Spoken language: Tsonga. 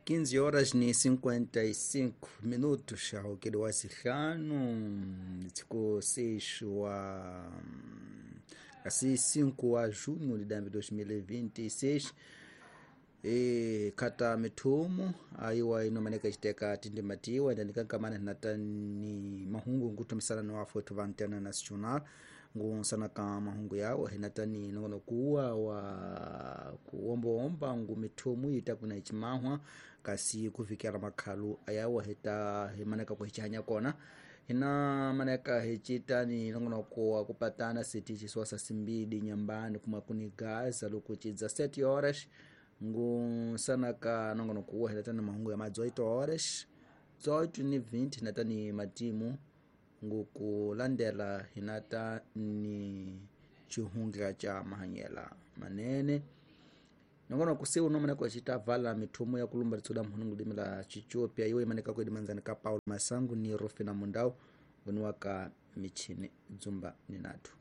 15 horas ni 55 minutos, ahokeli wa sihlanu tsiku 6 wa kasi 5 wa junho de 2026. E khata mithumu aiwa inomaneka citeka tindimatiwa endandikankamana hinatani mahungu nkutumisana no afu va Antena Nacional ngunsanaka mahungu yawo hinatani nongonokuwa wa kuombaomba ngu mithumu ita kuna icimahwa kasi kuvikela makhalu ayawo hita himaneka kuhicihanya kona hina maneka hicitani nongonoko kupatana siti cisuasa simbidi nyambani kuma kuni gaza lukucidza 7 horas ngusanaka nongonoko hinatani mahungu ya ma 18 horas 18 ni 20 hinatani matimu ngukulandela hinata ni cihunga ca mahanyela manene nongono kusiu nomaneka cita vala mithumu ya kulumba litsuda mhunu ngulimi la ciciopia iwe imaneka kuedimanzani ka Paulo Masangu ni Rufina Mundau nguniwaka michini dzumba ni nathu.